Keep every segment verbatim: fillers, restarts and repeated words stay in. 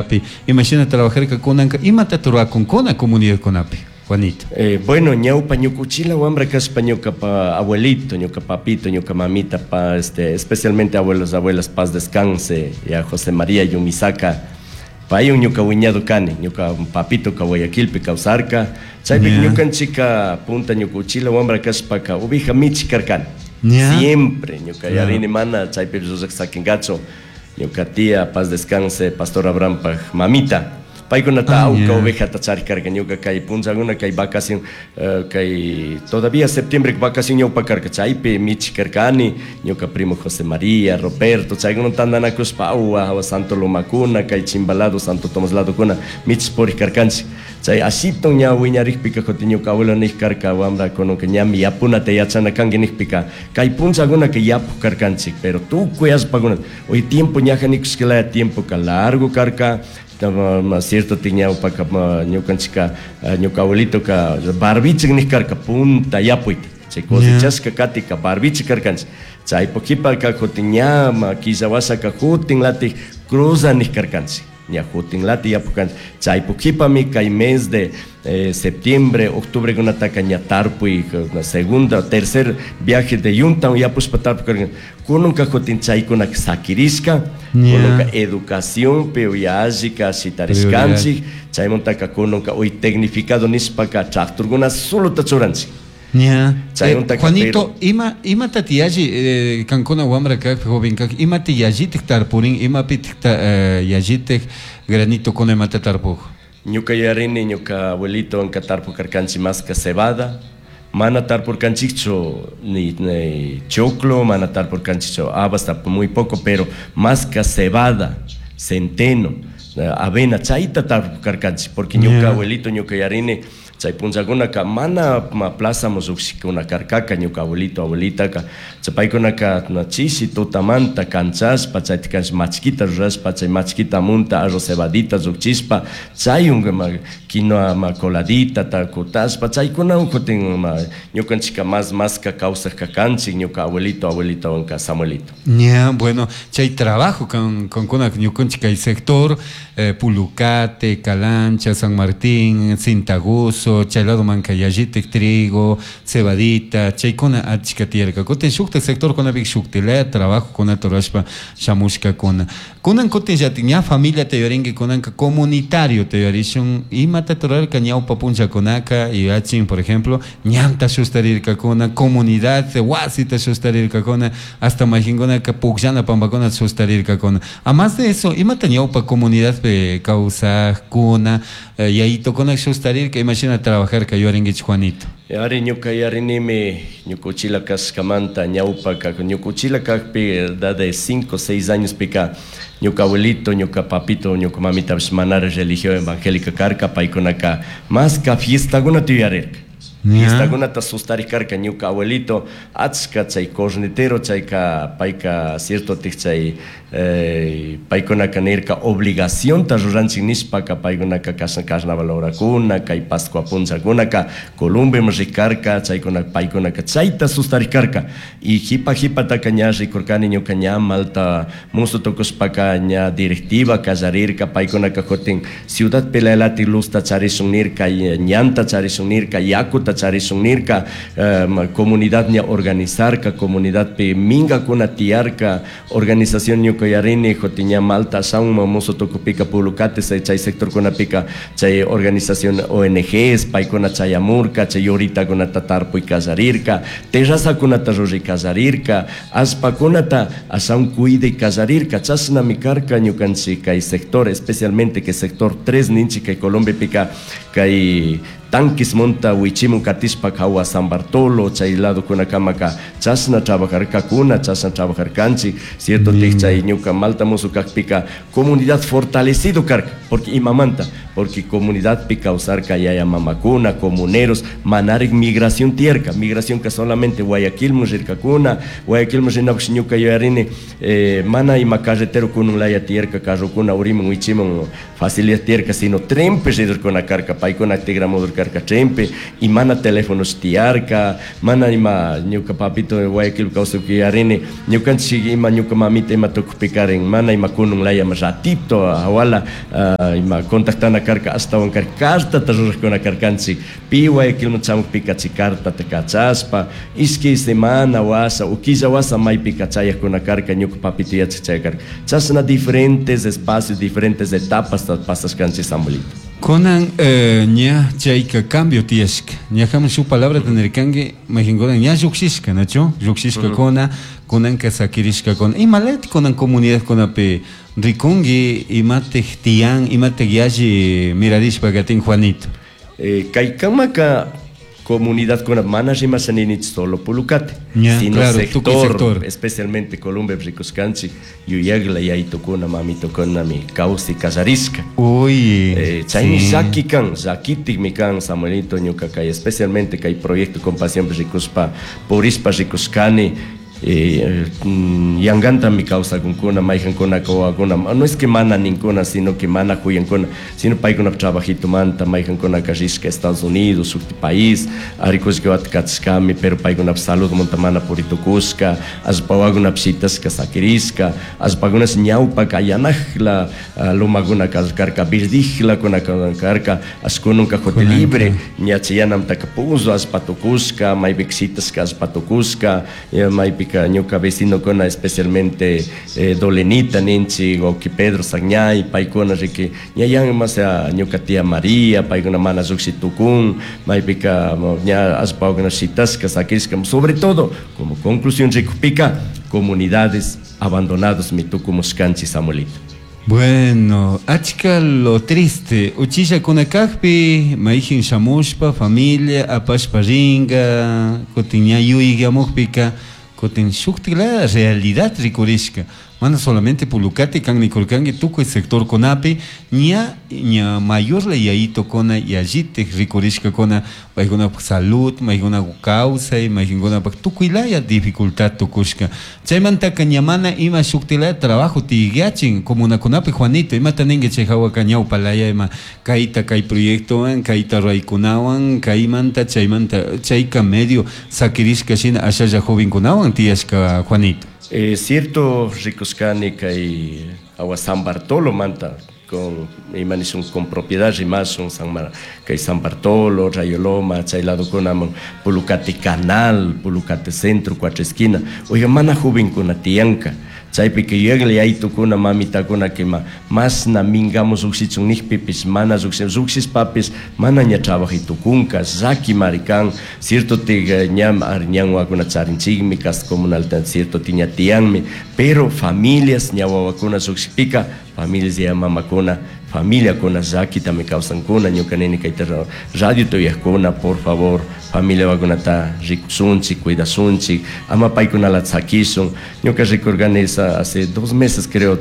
Comunidadpi imashina trabajarka kunanka imata rurakunkuna comunidadkunapi, Juanito? Eh, bueno, ñawpa ñuka uchila wambra kashpa ñuka abuelito, ñuka papito, ñuka mamita, pa, este, especialmente abuelos, abuelas, paz descanse, ya José María Yumisaka, paywan ñuka wiñado kani, ñuka papito ka Guayaquilpi kawsarka, chaypi Yeah. ñukanchika punta ñuka uchila wambra kashpaka oveja michi karkani. Yeah. Siempre ñuka yarini mana chaypi ruraq sakinkachu, ñuka tía, paz descanse, Pastor Abrahampaj mamita, paykunata Ah, awka yeah. ovejata charik karka, ñuka kay punllakuna kay vacación, eh, kay todavía septiembre vacación ñawpa karka, chaypi michi karkani, ñuka primo José María, Roberto, chaykuna tandanakushpa awa hawa Santo Lomakuna, kay Chimbalado, Santo Tomás ladokuna michi purik karkanchik. Chay ashito ña wiñarikpika kutin ñuka abuelo nik karka wambra kununka ñami yapunata yachana kanki nikpika kay punllakunaka yapuk karkanchik, pero tukuy allpakuna hoy tiempo ñaja nikushkalaya tiempo ka largo karka, ma cierto ñawpaka ñukanchika ñuka abuelito ka barbichik nik karka punta yapuyta, chay cosechashka katika barbichik karkanchik, chaypuk kipaka kutin ña killa washaka kutin latik cruza nik karkanchik, ña kutin lati yapukanchik, chaypuk kipami kay mes de eh, septiembre, octubre kunataka ña tarpuy, segunda, tercer viaje de yunta yapushpa tarpuy karkan, kununka kutin chaykunaka sakirishka, Yeah. kununka educación pe uyallika shitarishkanchik, chaymuntaka kununka hoy tecnificado nishpaka tractorkuna solo churanchik. Yeah. Chaymuntaka Eh, Juanito, ima imata tiyalli eh, kankuna wambra kak joven kak imata yallitik tarpurin imapitik ta, eh, yallitik granito kuna imata tarpuj? Ñuka yarini ñuka abuelito anka tarpuk karkanchik maska cebada, mana tarpurkanchikchu ni, ni choclo, mana tarpurkanchikchu habas, muy poco, pero maska cebada, centeno, avena, chayta tarpurkanchik, porque ñuka Yeah. abuelito ñuka yarini chay punllakunaka mana ma plaza lluqshikuna karkaka ñuka abuelito abuelitaka, chay paykunaka na chishi tutamanta kanchashpa chayta kanchis machkita rurashpa chay machkita munta arroz cebadita lluqchishpa chayun ma quinoa ma coladita kutashpa chaykunawan kutin ma ñukanchika mas maska kawsaq kanchik ñuka abuelito abuelitowanka Samuelito. Ya, bueno, chay trabajo con con kuna ñukanchik kay sector eh, Pulucate, Calancha, San Martín, Cintaguso, chay lado manka yallitik trigo, cebadita, chaykuna achka tiyarka. Kutin shukta sector kunapi shuktilaya trabajo kunata rurashpa shamushkakuna. Kunan kutin llatik ña familia te yuyarinki kunanka comunitario te yuyarishun imata rurarka ñawpa punllakunaka yuyachin, por ejemplo, ñanta shustarirkakuna, comunidad wasita shustarirkakuna, hasta mayqinkunaka pukllana pampakuna shustarirkakuna. A más de eso, imata ñawpa comunidadpi kawsajkuna, eh, yayitokuna shustarirka, imashina trabajarka yuyarinkichik, Juanito? Ari ñuka yarinimi ñuka uchila kashkamanta ñawpaka ñuka uchila kakpi edad de cinco seis años pika ñuka abuelito ñuka papito ñuka mamitapish manara religión evangélica karka paykunaka maska fiestakunata yuyarirka. Ya. Fiestakunata sustarik karka ñuka abuelito achka chay cornetero chayka payka cierto tik chay, eh, paykunaka nirka obligacionta ruranchik nishpaka paykunaka kashan carnaval horakuna kay Pascua punllakunaka Columbiaman rikarka chaykuna paykunaka chayta sustarik karka y jipa jipataka ña rikurkani ñuka ña malta musu tukushpaka ña directiva kallarirka paykunaka kutin Ciudad Pelalati luzta charishun nirka ñanta charishun nirka yakuta charishun nirka, eh, comunidad ña organizarka comunidadpi minkakuna tiyarka organización ñuka yarini kutin ña malta shamun musu tukupika Pulucate chay sectorkunapika chay organización O N Gs paykuna chayamurka chay yoritakunata tarpuy kallarirka terrazakunata ruray kallarirka allpakunata ashawan cuiday kallarirka chashnami karka ñukanchik kay sector especialmente que sector tres ninchik kay Colombiapika kay Tanquis monta wichimun katishpa hawa San Bartolo chay lado kunakamaka chashna trabajarkakuna chashna trabajarkanchik cierto Mm. tik chay ñuka malta musu kakpika comunidad fortalecido karka porque imamanta porque comunidad pi kawsarka yaya mamakuna comuneros manarik migración tierka migración que solamente Guayaquil rirkakuna Guayaquil rinapish ñuka yuyarini, eh, mana ima carretero kunun laya tierka carrokuna urimun wichimun facilidad tierka sino trenpi ridurkuna karka paykuna tigramudurka Karka trenpi y mana teléfonos tiyarka, mana ima ñuka papito Guayaquil kawsakpi yuyarini, ñukanchik ima ñuka mamita ima tukupikarin mana ima kunun laya ratito hawala ima contactana karka, ashtawan cartata rurakkuna karkanchik, pi Guayaquilman chamukpika chay cartata kachashpa ishki semana washa o killa washa maypika chayakuna karka, ñuka papito yachak chayaq karka. Chashna diferentes espacios, diferentes etapas pasashkanchik, Samuelito. Kunan eh, ña chayka cambio tiyashka, ñajaman shuk palabra nirkanki, mayqankuna ña llukshishka, nachu llukshishkakuna, kunanka sakirishkakuna. Imalati kunan comunidadkunapi rikunki, imatik tiyan, imatik yalli mirarishpa katin, Juanito? eh, kaykamaka comunidadkuna mana rimasha ninichu solo Pulucate, Ña, sino claro, sector, tukuy sector. Especialmente Colombia rikushkanchik yuyakla yaytukuna mamitukunami kawsay kallarishka. Uy, Eh, chaymi sí. llaki kan, llakitikmi kan, Samuelito, ñuka kay especialmente kay proyecto Compasión rikushpa purishpa rikushkani, eh, mm, yankantami kawsakunkuna mayqankuna wawakuna, no es que mana ninkuna, sino que mana huyankuna, sino paykuna trabajitumanta mayqankunaka rishka Estados Unidos, shukti país, arikushka kachashkami, pero paykuna saludmanta mana puritukushka, allpa wawakunapish shitashka sakirishka, allpakunash ñawpaka yanakla lomakuna karka, verdijlakuna karka, ashkununka jote libre ña chayanamtaka puzo allpa tukushka, maypika shitashka allpa tukushka, maypika ñuka vecinokuna especialmente eh, Dolenita ninchik, wawki Pedro Sagñay, paykuna riki ña yan más ñuka tía María, paykuna mana lluqshi tukun, maypika ña allpa wawakuna shitashka sakishka. Sobre todo, como conclusión rikupika, comunidades abandonados mi tukumushkanchik, Samuelito. Bueno, achka lo triste, uchilla kunakakpi, mayjin shamushpa, familia, apashpa ringa, kutin ña yuyayamukpika, kutin shuktik la realidad rikurishka. Mana solamente Pulucate kan nikurkanki, tukuy sector kunapi, ña, ña mayor la yayitokuna yallitik rikurishkakuna, paykunapak salud, maykunapak kawsay, maykunapak tukuy laya dificultad tukushka. Chaymantaka ña mana ima shuktilaya trabajo tiyachin comunakunapi, Juanito, imata ninki chay hawaka ñawpa laya ima kayta kay proyectowan, kayta ruraykunawan, kaymanta chaymanta chayka medio sakirishka shina ashalla jovenkunawan tiyashka, Juanito? Eh, cierto, rikushkani kay awa San Bartolo manta con ima nishun con propiedad rimashun San Mar, kay San Bartolo, Rayoloma, chay ladokunaman, Pulucate Canal, Pulucate Centro, Cuatro Esquina. Oiga, mana jovenkuna tiyanka. Chaypika yuyakla yaytukuna mamitakuna kima masna mingamos llukshichun nikpipish mana llukshin, llukshishpapish mana ña trabajay tukunka, llakimari kan. Cierto tik ña ñan wawakuna charinchikmi, casa comunal cierto ti ña tiyanmi, pero familias ña wawakuna llukshikpika familias ya mamakuna familiakuna llakitami kawsankuna. Ñuka nini kayta radio tuyakuna, por favor, familia wawakunata rikushunchik, cuidashunchik, ama paykunalata sakishun. Ñuka rikurkani hace dos meses, creo,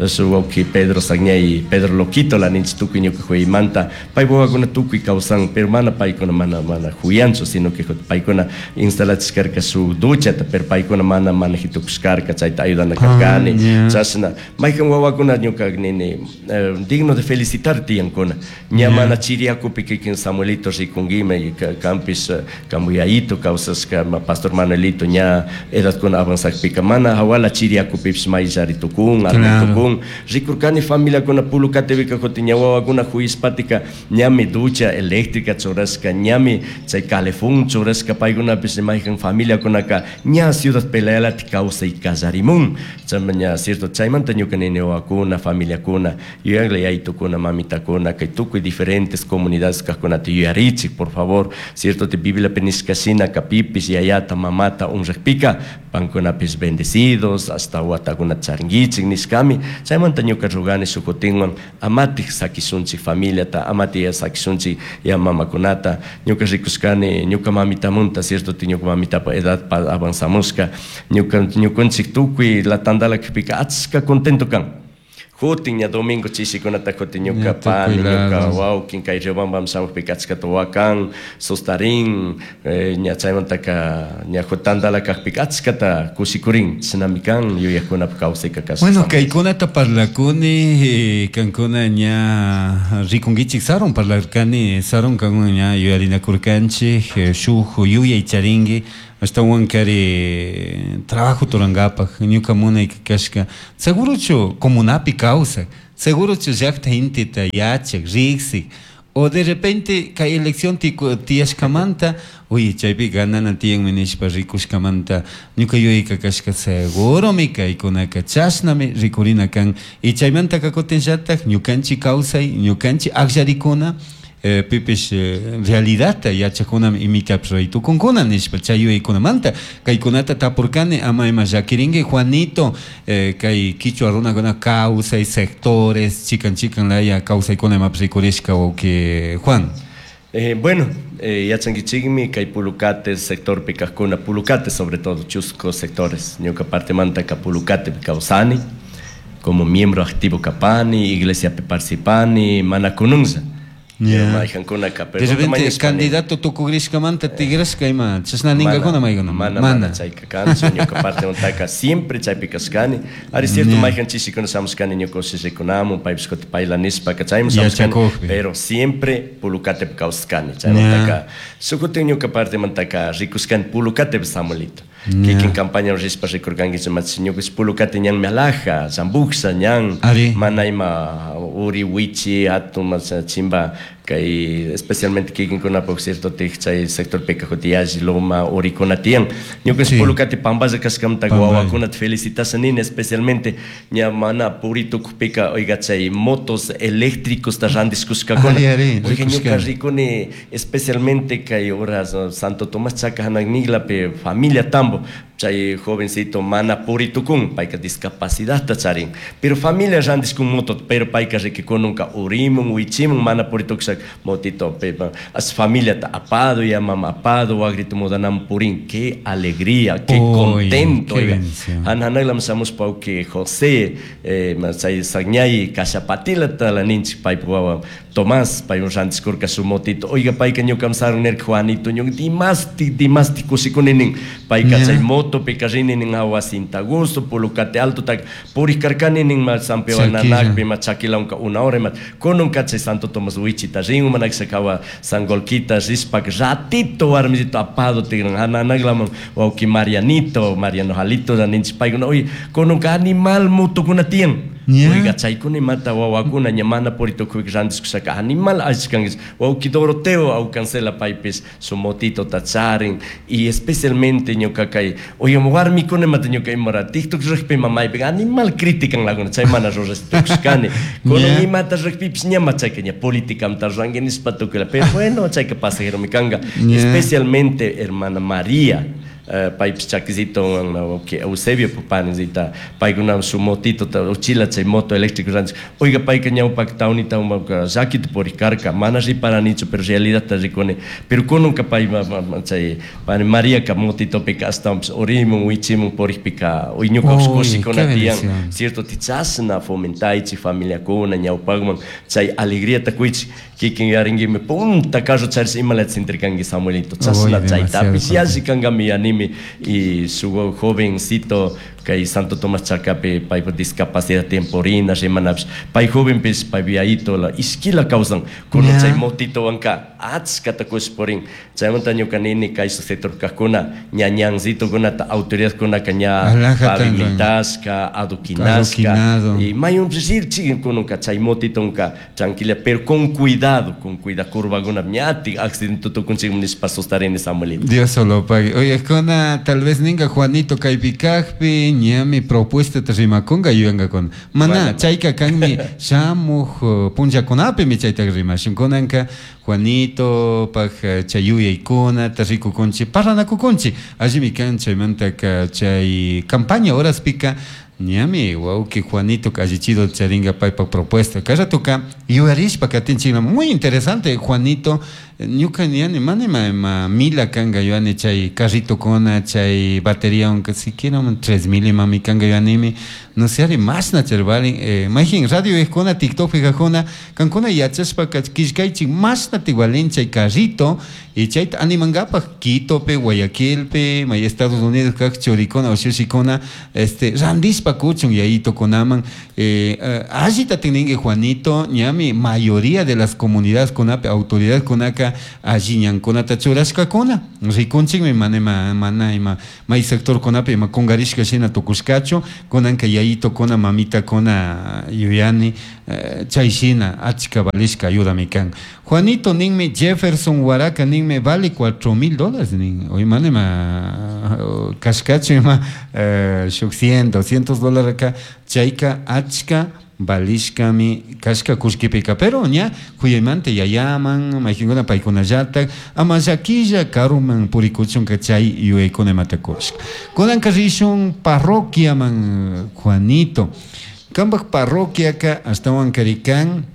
su wawki Pedro Sagñay, Pedro Loquito la ninchik tukuy ñuka huyaymanta, paypa wawakuna tukuy kawsan, pero mana paykuna mana mana huyanchu, sino que paykuna instalachishkarka shuk duchata, pero paykuna mana maneji tukushkarka, chayta ayudana karkani. Chashna maykan wawakuna ñuka nini digno de felicitar tiyankuna, ña mana chiriyakupi kikin Samuelito rikunkima kanpish kamuyayito kawsashka pastor Manuelito ña edadkuna avanzakpika mana hawala chiriyakupipish mayllari tukun, armay tukun. Rikurkani familiakuna Pulucatepika kutin ña wawakuna huyishpatika ñami ducha eléctrica churashka, ñami chay calefón churashka, paykunapish maykan familiakunaka ña ciudad pelealati kawsay kallarimun. Chayma ña cierto chaymanta ñuka nini wawakuna familiakuna yuyakla yaytukuna mamitakuna kay tukuy diferentes comunidades kajkunata yuyarichik, por favor. Cierto te Bibliapi nishka shina kapipish yayata mamata honrakpika pankunapish bendecidos hasta watakuna charinkichik nishkami. Chaymanta ñuka rugani shukutinwan amatik sakishunchik familiata, amatik sakishunchik ya mamakunata. Ñuka rikushkani ñuka mamitamunta, cierto ti ñuka mamitapa edad avanzamushka, ñuka ñukanchik tukuy la tandala kpika achka contento kan. Jutin ña domingo chishikunata kutin ñuka pani, ñuka wawkin kay Riobambam shamukpika achkata wakan, sustarin, eh, ña chaymantaka ña tantala kakpika achkata kushikurin, chishnami kan yuyakkunapak kawsayka kashka. Bueno, kaykunata parlakuni, eh, kankuna ña rikunkichik sarun parlarkani, sarun kankuna ña yuyarinakurkanchik, eh, shuk yuyay charinki, ashtawan kari trabajo turankapak, ñuka munayka kashka, segurochu comunapi kawsak, segurochu llakta intita yachak, riksik, o de repente kay elección tiyashkamanta, uy, chaypi ganana tiyanmi nishpa rikushkamanta, ñuka yuyayka kashka seguromi kaykunaka chashnami rikurina kan, y chaymantaka kutinllatak ñukanchik kawsay, ñukanchik akllarikuna, eh, pipish eh, realidadta yachakunami imitapish ruray tukunkuna nishpa chay yuyaykunamanta kaykunata tapurkani ama ima llakirinki Juanito, eh, kay kichwa runakuna kawsay sectores chikan chikan laya kawsaykuna imapish rikurishka wawki Juan. Eh, bueno, eh, yachankichikmi kay Pulucate sectorpi kajkuna, Pulucate sobre todo, chusco sectores, ñuka partemanta ka Pulucate kawsani, como miembro activo kapani, iglesia participani, mana kununza. Yeah. Mayqankunaka, De repente candidato tukugrishkamanta tigrashka ima, chashna ningakuna maykuna. Mana, mana, chayka kanchu, ñuka partemantaka siempre chaypi kashkani. Ari cierto, mayqan chishikuna shamushkani ñuka ushishikunamun, paypish kutin payla nishpaka chayman shamushkani, pero siempre Pulucatepi kawsashkani. Chaymantaka, shukutin ñuka partemantaka rikushkani Pulucatepi Samuelito. Kikin campaña rishpa rikurkankichik machi ñuka Pulucate ñanmi alaja, Zambuxa ñan, mana ima uri wichi, hatun macha chimba, kay especialmente kikinkunapak cierto tik chay sector pika kuti yalli loma urikuna tiyan. Ñuka Pulucate pamballa kashkamanta wawakunata felicitasha nini, especialmente ña mana puri tukupika, oiga, chay motos eléctricos ta randishkushkakuna. Oiga, ñuka rikuni especialmente kay horas Santo Tomás Chaca hanakniklapi familia Tambo, chay jovencito mana puri tukun, payka discapacidad ta charin, pero familia randishkun moto, pero payka rikikununka urimun, wichimun, mana puri tukushak motito, pepa, as familia ta apado, ya mama apado, wagrito mudanam purin, qué alegría, qué Uy, contento, qué oiga. bendición. Hanhanaglam shamushpa que José, eh, chay sañay kashapatila ta la ninchik paypa wawa Tomás, pay un randishkurka su motito, oiga, payka ñukam sarun nerka Juanito, ñuka dimasti, dimasti kushikuni nin, payka Ya. chay moto pika rini nin awa Cinta Gusto, Pulucate Alto, tak purikarkani nin ma San Pedro Chaquila. Nanakpi, ma Chaquilaunka una hora, ma kununka chay Santo Tomás Wichita rin, ma nakshakawa Sangolquita rishpak ratito warmisito apado tigran, hananaglaman wawki Marianito, Mariano Jalito, ninchik paykuna, oye, kununka animal motokuna tiyan. Ya. Oiga, chaykuna imata wawakuna ña mana puritukuy randishkushaka animal achkankish, wawki Doroteo aucancela paypis su motito tacharin, y especialmente ñuka kay, oiga, warmikuna imata ñuka imara TikTok rikpi mamaypi animal critican laguna, chay mana rurashtukushkani. Kunan Ya. imata rikpipis ña chayka ña políticamta ruranki nishpa tukuyla, pero bueno, chayka pasajeromi kanka. Ya. Especialmente hermana María, eh, paypis chakisito, que Eusebio papanisita, paykuna su motito, ta, uchila chay moto eléctrico rancho. Oiga, payka ñawpak taunita umaka llakita purikarka, mana riparanichu, pero realidad ta rikuni. Pero kununka pay ma, ma, ma, chay, pani María ka motito pika astawanpis urimun, wichimun purikpika, uy, ñuka Uy, kushikuna qué tiyan. bendición. Cierto, tichasna fomentaychik familiakuna ñawpakman, chay alegría ta kuychik, kikin yaringuimi punta carro charis imalata sintirkanki Samuelito, chasna Uy, chaytapis demasiado yalli kankami yanimi, y su jovencito kay Santo Tomás Chacapi paypa discapacidad temporina rimanapis, pay jovenpis pay viayito la iskila kawsan, kunan Ya. chay motito wanka achkata kushpurin, chaymanta ñuka nini kay sector kajkuna ñañancitokunata autoridadkunaka ña Alajata pavimentashka, adoquinashka, Adoquinado. y mayun rirchik kununka chay motitonka tranquila, pero con cuidado, con cuidado, curvakuna ñatik accidente tukunchik nishpa sustarini Samuelito. Dios solo pague. Oye, kona, tal vez ninga Juanito kaypi kajpi, ñami propuesta ta rimakunga yuyanka con. Mana, Mana. chayka kanmi shamuj, eh, punllakunapimi chayta rimashun. Kunanka Juanito paj, eh, chay yuyaykuna ta rikukunchik, parlanakukunchik. Allimi kan chaymantaka chay campaña horaspika, ñami wawki Juanito allichido charinga paypa propuesta. Kay ratoka yuyarishpa katinchikla, muy interesante Juanito, Ñuka niyani mana ima ima mila kanka yuani chay carritokuna chay bateriawanka siquiera tres mil imami kanka yuanimi, no sé ari mashna chay valin. eh, mayjin radio ejkuna TikTokpi kajuna kankuna yachashpaka killkaychik mashna valin chay carrito y chayta animankapak Quitopi, Guayaquilpi, may Estados Unidos kak churikuna ushushikuna este randishpa kuchun yayitokunaman. eh, eh, allita tininki Juanito, ñami mayoría de las comunidades kunapi autoridades kunaka alli ñankunata churashkakuna, rikunchikmi mana ima mana ima may sector kunapi ima kungarishka shina tukushkachu. Kunanka yayitokuna mamitakuna yuyani eh, chay shina achka valishka ayudami kan. Juanito ninmi, Jefferson Huaraca ninmi vale cuatro mil dólares nin, hoy mana ima kashkachu ima eh, shuk cien, doscientos dólares ka chayka achka valishkami kashka kullkipika, pero ña huyaymanta yayaman maykinkuna paykunallatak ama llakilla karuman purikuchunka chay yuyaykuna imata kushka. Kunanka rishun parroquiaman, Juanito, kanpak parroquiaka ashtawan karikan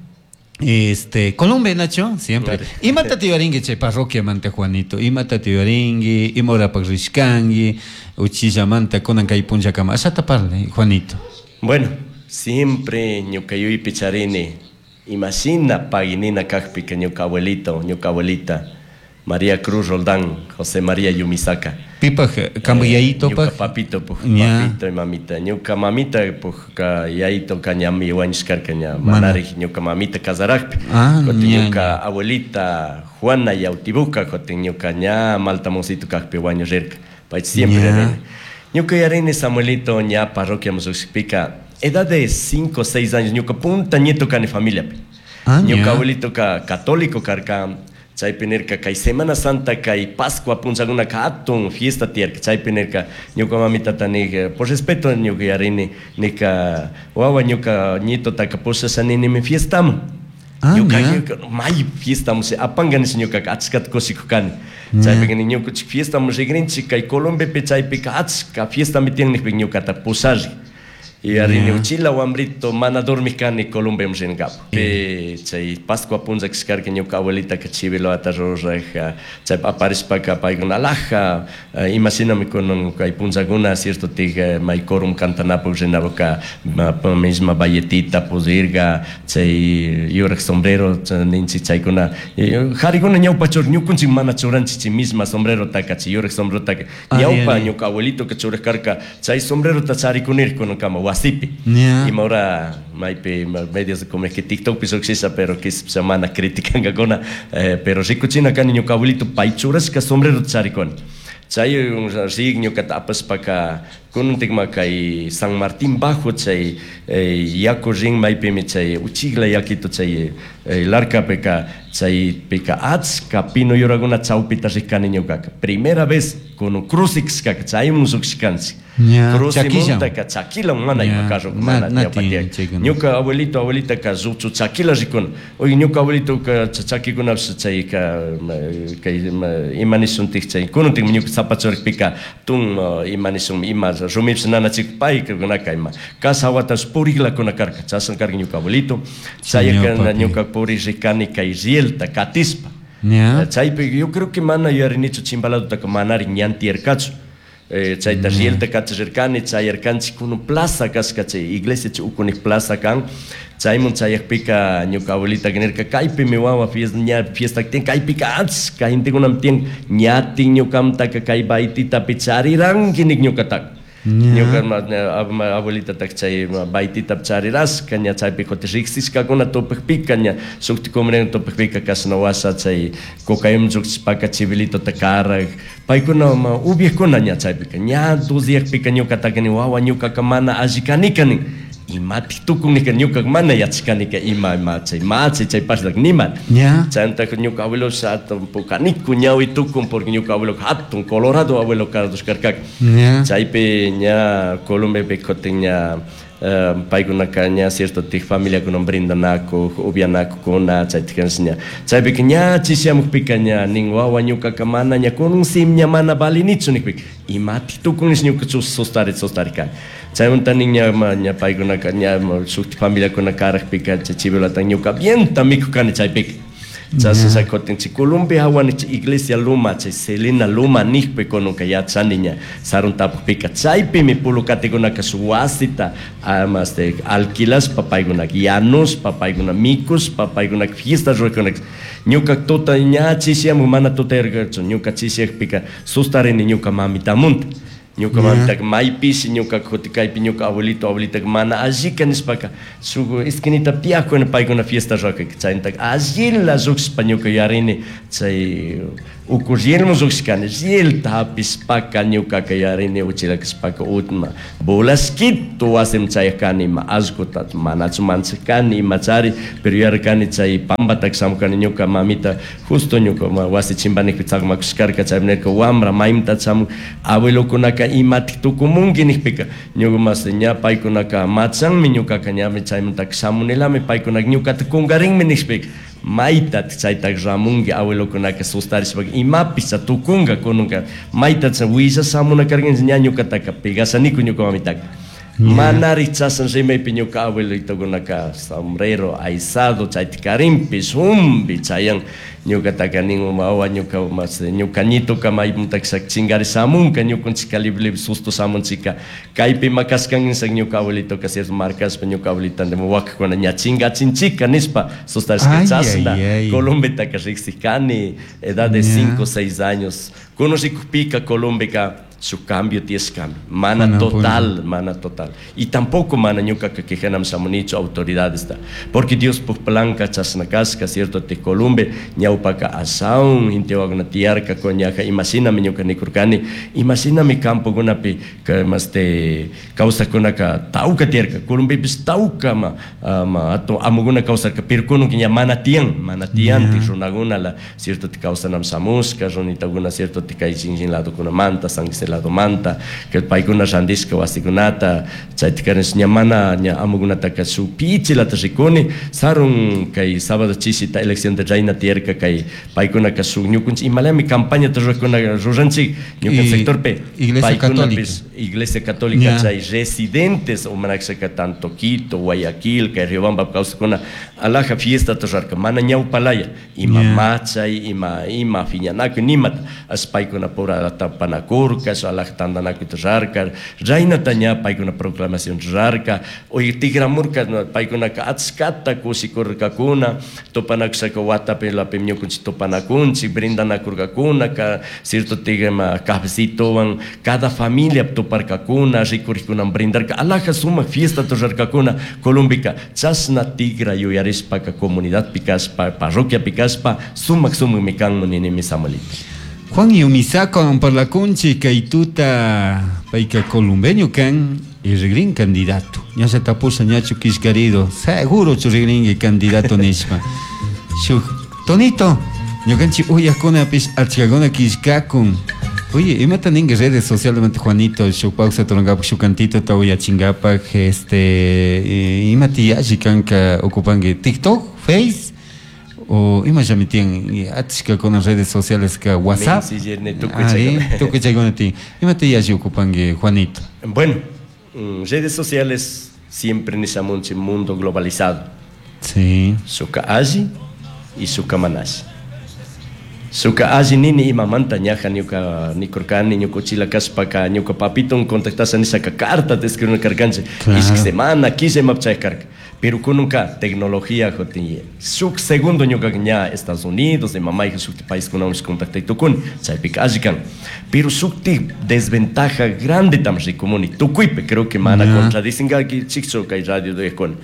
este Colombia, Nacho, siempre. Imata tiyuarinki chay parroquiamanta, Juanito? Imata tiyuarinki, ima horapak rishkanki, uchillamanta kunan kay punllakama? Ashata parle, Juanito. Bueno, siempre ñuka yuypi charini imashina paginina kakpika ñuka abuelito, ñuka abuelita María Cruz Roldán, José María Yumisaka. Pipak kanpak yayitopak? Ñuka papito, puj, papito y mamita. Ñuka mamita, puj, ka yayito ka ñami wañushkarka ña manarik ñuka mamita kasarakpi. Ah, Kutin ña, ñuka ña. abuelita Juana Yautibuca, kutin ñuka ña maltamoncito kakpi wañurirka. Pay siempre Ña. rini. Ñuka yarini Samuelito ña parroquia musushpika, edad de cinco o seis años, ñuka punta nieto kani familiapi. Ah, Ñuka ña. abuelito ka católico karka, chaypi nirka kay Semana Santa kay Pascua punllakunaka hatun fiesta tiyarka, chaypi nirka ñuka mamitata nik, por respeto ñuka yarini nika wawa ñuka nietotaka pushasha ninimi fiestaman. Ah, Ñuka ña. ñuka may fiestaman apanka nish ñukaka achkata kushikuk kani. Chaypika nin ñukanchik fiestaman rigrinchik kay Colombiapi chaypika achka fiestami tiyan nikpika ñukata pushari. Y arini uchila wambrito mana dormik kani Colombiaman rinkapak. Pi chay Pascua punlla kashkarka ñuka abuelitaka chivilota ruraj, chay aparishpaka paykuna alhaja, imashinami kunan kay punllakuna cierto tik may corum cantanapak rinapaka misma bayetita pudirka chay yurak sombrero ninchik chaykuna. Jarikuna ñawpa chur ñukunchik mana churanchik chay misma sombrerotaka chay yurak sombrerotaka. Ari, Ñawpa ari. ñuka abuelitoka churak karka chay sombrerota charikunir kunankama wasipi. Ña. Ima hora maypi medios de comunicación TikTokpi lluqshisha pero quizás mana criticankakuna, eh, pero rikuchina kani ñuka abuelito pay churashka sombrerota charikuni. Chay rik ñukata apashpaka kunantikma kay San Martín Bajo chay, eh, yaku rin maypimi chay uchikla yakito chay, eh, larkapika chaypika achka pino yurakuna chawpita rikani ñukaka. Primera vez kunan cruce kashkaka chaymun lluqshkanchik. Ña, Cruce chakilla. muntaka chakila mana ima Ña, carro na- mana na ñawpa tiyan tiyak. chaykuna. Ñuka abuelito abuelita ka ruchu chakila rikuna. Oye ñuka abuelito ka chakikunapish chayka, kay, ima nishuntik chay kunantik ñuka zapachurikpika tun ima nishun ima rumipish nanachik paykunaka ima casa watash puriklakuna karka chashna karka ñuka abuelito. Chayaka Ñuka papi. ñuka puri rikani kay rielta katispa. Ña. Chaypi yo creo que mana yuyarinichu chimpaladotaka manari ñan tiyarkachu. Eh, chayta rielta kachirkani, chayarkanchik kunan plaza kashka chay iglesia chay ukunik plaza kan. Chaymun chayakpika ñuka abuelita nirka kaypimi wawa fiesta, ña fiesta tiyan kaypika achka gentekunami tiyan ñatin ñukamtaka kay baytitapi chariranki nik ñukataka. Ña. Ñuka ma, ña, ab-, ma, abuelitatak chay, ma, baytitapi charirashka, ña chaypi kutin riksishkakuna tupakpika, ña shukti comunidad tupakpika kashna washa chay cocayum llukshishpaka chivilitota karak, paykuna, ma, ubiakuna ña chaypika, ña dos diaspika ñukataka ni wawa ñukaka mana alli kanika nin. Imatik tukun nika ñukaka mana yachashkanika ima, ima chay machi chay paslak nima. Ña. Chayantaka ñuka abuelo hatun pukaniku ñawi tukun porque ñuka abuelo hatun colorado abuelo karkaka. Ña. Chaypi ña Colombiapi kutin ña, eh, paykunaka ña cierto tik familiakunan brindanaku, upianakukuna, chaytik ña. Chaypika ña chishamukpika ña nin wawa ñukaka mana ña kunun sim ña mana valinichu nikpika. Imatik tukun nish ñuka chus sostari, sostari kani. Chaymanta nin ña, ma, ña paykunaka ña, ma, shukti familiakuna karakpika chay chivilata ñuka bienta mikuk kani chaypika. Chasna kutin chay Colombia hawani chay iglesia Luma, chay Selena Luma nijpi kununka yachani ña sarun tapukpika chaypimi pulukatikunaka shuk wasita este, alquilashpa paykunaka yanushpa paykuna mikushpa paykunaka fiesta rurakunaka. Ñuka tuta ña chishiyamun, mana tutayarkachu, ñuka chishiyakpika sustarini ñuka mamitamunta. Ñuka mamitaka maypishi ñuka kuti kaypi ñuka abuelito abuelitaka mana allika nishpaka shuk esquinita tiyakuna paykuna fiesta rurakaka chayntaka allila llukshishpa ñuka yuyarini chay uku rielmun llukshishkani, rielta hapishpaka ñukaka yuyarini uchila kashpaka utma volashkitu wasiman chayakani ima allkuta manachu manchakani imachari, pero yuyarkani chay pambataka shamukani ñuka mamita justo ñuka wasi chimbanikpi chakmakushkarka, chaymi nirka wambra maymanta shamun abuelokunaka imatik tukumunki nijpika ñuka mas ña paykunaka machanmi ñukaka ñami chaymantaka shamunilami paykunaka ñukata kunkarinmi nishpika maytatik chaytak ramunki abuelokunaka sustarishpaka imapish cha tukunka kununka mayta willa shamuna karkanchik ña ñukataka pegashaniku ñuka mamitaka. Manari chashan rimaypi ñuka abuelitokunaka sombrero aysado chayta karinpish humbi chayan ñukataka nin wawa ñuka mas ñuka ñituka maymuntak chingari shamunka ñukunchika libre libre susto shamunchika kaypi ima kashkanchik ñuka abuelitoka cierto marcashpa ñuka abuelita wakakuna ña chingachinchika nishpa sustarishka chashna Colombetaka riksijkani edad de cinco seis años kunan rikukpika Colombeka su cambio tiyashkami mana total, mana total. Y tampoco mana ñukaka quejanam shamunichu autoridades ta, porque Dios puk planka chashna kashka, cierto te Columbe ñawpaka ashawan intiwakuna tiyarka koñaja imashinami ñuka nikurkani imashinami campokunapi maste kawsakkunaka tawka tiyarka Columbepish tawka ma ma atun amukuna kawsarka, pero kunanka ña mana tiyan, mana tiyantik runakunala cierto te kawsanam shamushka runitakuna cierto te kay shinllin ladokunamanta San José ladomanta que paykuna randishka wasikunata chayta ña mana ña amukunataka shuk pichilata rikuni sarun kay sábado chishita elección de reina tiyarka kay paykunaka shuk ñukunchik imalami campañata rurakuna ruranchik ñuka sectorpi Iglesia Católica, Iglesia Católica chay residentes o manakshaka tanto Quito, Guayaquil, kay Riobamba kawsakuna alaja fiesta rurarka mana ñawpalaya ima machay ima ima phiñanakuy nimata ash paykuna pura tapanakurka alaja tantanakuyta rurarka reinata ña paykuna proclamación rurarka oy tikramurka paykunaka achkata kushikurkakuna tupanakushaka watapi lapimi ñukunchik tupanakunchik brindanakurkakuna cierto tigma cafecitowan cada familia tuparkakuna rikurikuna brindarka alaja sumak fiesta rurarkakuna Colombika chashna tigra yuyarishpaka comunidadpi kashpa parroquiapi kashpa sumak sumakmi kanman ninimi Samuelito. Juan Yumisako parlakunchik kay tuta payka columbeño kan y rigrin candidato. Ña tapusha ñachu kishkarido, seguro chu rigringi candidato nishpa. Shuk tonito, ñukanchik uyakunapish achkakuna kishkakun. Oye, imata ninki redes sociales Juanito, shuk pausa turankapak shuk cantito ta uyachinkapak, este, imata yalli kanka ocupanki TikTok, Face, o ima llami tiyan achka kuna redes sociales ka WhatsApp. Tukuy chaykuna tiyan. Imata yalli ocupanki Juanito? Bueno, redes sociales siempre nishamunchik mundo globalizado. Sí. Shuka alli y shuka manashi. Shuka alli nini imamanta ñaja ñuka nikurkani ñuka uchila kashpaka ñuka papiton contactasha nishaka carta te escribirna karkanchik. Ishki semana killa imapaq chayaq karka. Pero kununka tecnología jotin shuk segundo ñuka ña Estados Unidos ima mayqa shuk paiskunawan contactay tukuni chaypika alli kan. Pero shuktik desventaja grande tam rikumuni tukuypi creo que mana contradicinkakichikchu kay radio de kun.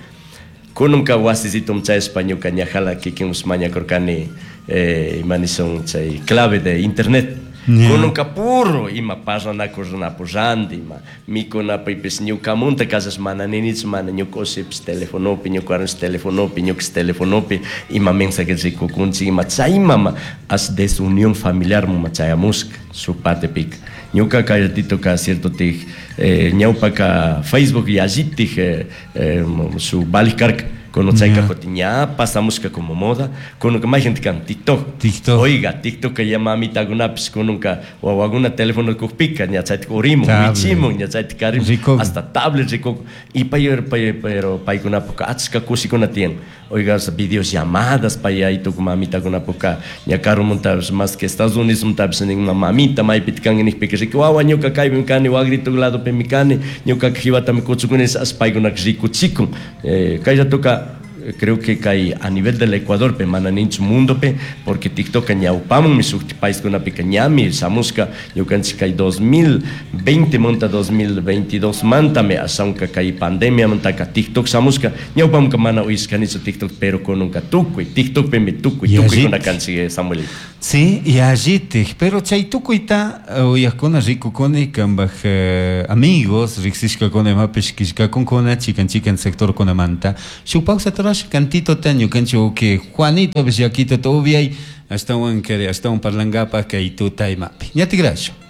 Kununka wasisitum chayashpa ñuka ñajala kikin mañakurkani eh, ima nishun chay clave de internet. Kununka puro ima parlanakurnapu ranti ima mikunapipis ñukamunta kashash mana ninichu mana ñuka ushipish telefonopi ñuka warmipish telefonopi ñukash telefonopi ima mensaje rikukunchik ima chaymama ash desunión familiar muma chayamushka shuk partepika. Ñuka kay ratitoka cierto tik eh, ñawpaka Facebook yallitik eh, eh, shuk valij karka. Kono chayka jotin Ña pasamushka como moda, kununka mayjanta kan TikTok. TikTok. Oiga, TikTok ya mamitakunapish kununka wawakuna teléfono kukpika ña chaytik urimun, wichimun, ña chaytik karimun, hasta tablet rikuk. Y pay, pay, pero paykunapuka achka kushikuna tiyan. Oiga, videollamadas pay aytuk mamitakunapuka ña karumuntapish más que Estados Unidos muntapish nin mamita maypita kanki nikpika riki wawa ñuka kaypimi kani wagrituk ladopimi kani ñukaka jiwatami kuchukuni as paykunaka rikuchikun. Eh, kay ratoka creo que kay a nivel del Ecuador pe mana ninchu mundo pe porque TikTok ñawpamanmi shukti paiskunapika ñami shamushka ñukanchik kay dos mil veinte manta dos mil veintidós mantami ashawanka kay pandemia mantaka TikTok shamushka ñawpamanka mana uyashkanichu TikTok pero kununka tukuy TikTokpimi tukuy tukuykuna kanchik, Samuelito. Sí, y allitik, pero chay tukuyta uyajkuna rikukuni kambaj, eh, amigos riksishkakuna imapish killkakunkuna chikan chikan sectorkunamanta. Shuk pausa turash cantito ta ñukanchik uki Juanito pish yakito ta ubiay ashtawan kari ashtawan parlangapaj kay tuta imapi. Ñatigrash.